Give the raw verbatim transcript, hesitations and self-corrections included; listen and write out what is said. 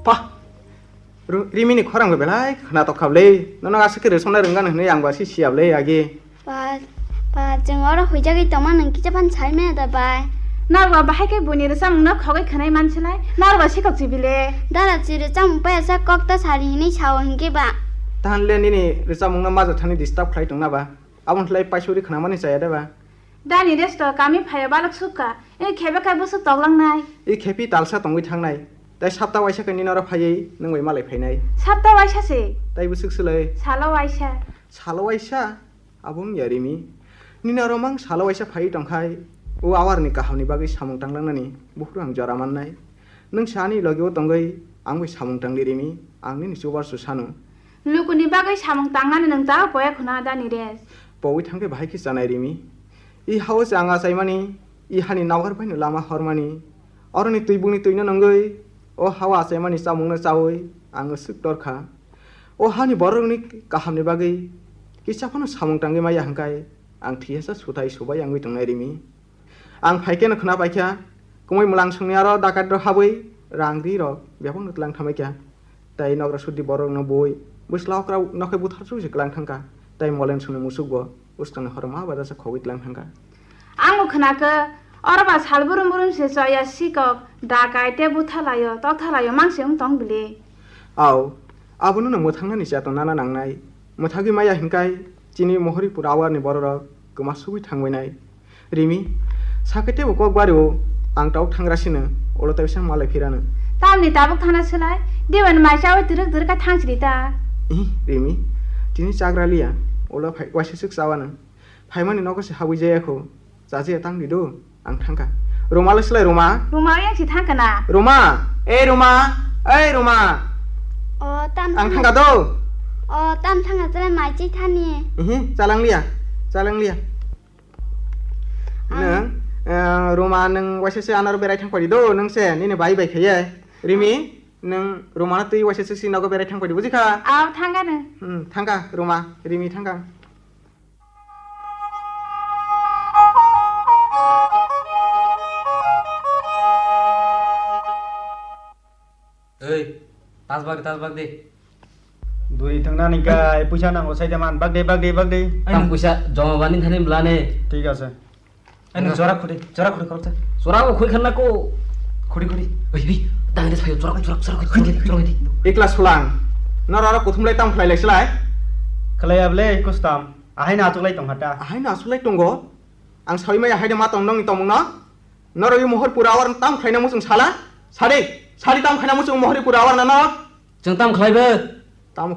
Pa, Ru-, Rimini khorang bo belai khwnatok kha bwle. Nono aswk khe rwchapna rwngano hwnwi ang bo aswk siya bwle agi. Ba, ba, chwng oro huijagwi tongma nwng kisa phano sai maya da bai? Narwkba bahai khe buini rwchapmungno khogwi khwnai mansilai, narwkba sikok chibile. Dara chi rwchapmung paya sa kok ta sari hinwi sao hinkhe ba. Tahan le nini rwchapmungno majak thani disturb khlai tongna ba? Aboni khlai paisuri khwnamani chaya da ba? Dani resto kami phaiya balok sukha, e khebe khai bwswk toklangnai. E khepi talsa tongwi thangnai, tai sapta waisa khe nini oro phaiwi nwng bai malai phainai. Sapta waisa se? Tai bwswk swlai? Salo waisa. Salo waisa? Abo wngya Rimi. Nini oro mang salo waisa phaiwi tongkhai, o awarni kahamni bagwi samung tanglangnani buphuru ang jora mannai. Nwng sa ani logi o tongwi ang bai samung tangdi Rimi, ang nini chubar su sanu. Lukuni bagwi samung tangnani nwng ta poya khuna da Niresh? Powi thangkhe bahai khe chanai Rimi. I hao se ang achaimani, i hani nawar baino lama hormani. Oroni twibungni twino nungwi, o hao achaimani chamungno chawi ang swk torkha. O hani borokni kahamni bagwi kisa phano samung tangwi maya hwnkhe ang thiyasa suthai subai wngwi tongnai Rimi. Ang phaikhe no khwna paikha, kumui mwlangsongni aro dakat rok habwi rang ri rok bebak no tlang thamai kha. Tai nogra sudi borok no bui bwsla okra nokhai buthar sui se klang thangkha. Tai molen songni musuk bo uskang ni horo ma bada sa khogwi tlang thangkha. Ang bo khwna khe, oro ba sal burum burum se choya sikok dakai te butha laio, tokha laio, mang se wng tong bile. Au, abono no mwthang nani chato nana nangnai. Mwthagwi maya hinkai chini Mohoripur awarni bororok kwma sugwi thangbainai. Rimi, sakhe tebo kok bario, ang tau thangra sino, ulo tei sang malai phirano. Tamni tabuk thana swlai, diban mai chawi twrwk twrwk kha thang sidi ta. Ih, Rimi, tini chagra liya, ulo phai waisa swk chawano. Phaimani nogo se habwi jaya kho, chajiya tang di do, ang thangkha. Roma le swlai Roma? Roma yang si thangkha na. Roma, ei Roma, ei Roma. O, tam Ang thangkha. Thangkha do. O, tam thangkha, chalai mai chi thani. Ihi, chalang liya, chalang liya. Ang Nang, eh, Roma nang waisa se anaro berai thang padi do, nang se, nini bai bai khaye. Rimi, nang Roma na twi waisa se si nogo berai thang padi, buji kha? Aw, thangkha nang. Hmm, thangkha, Roma, Rimi thangkha. Ei, tas bag, tas bag de. Duri thangna ni kai, puisa nango sai de man, bag de, bag de, bag de. Tam puisa joma bani thani blane. Thik ase. Ani jora khudi, jora khudi korok ta. Jora ko khoi khanna ko. Khudi, khudi. Oi, oi, dang de sayo, jora khoi, jora, jora khoi, jora khoi, jora khoi. Ikla sulang. Noro aro kuthum lai tam khlai lai slai. Khlai able kustam. Ahai na achuklai tong hata. Ahai na achuklai tongo. Ang sawi maya hai de ma tong nong ni tomung no. Noro i Mohoripur awar tam khlaina muchung sala. Sadi, sadi tam khlaina muchung Mohoripur awar na no. Chwng tam khlai bo.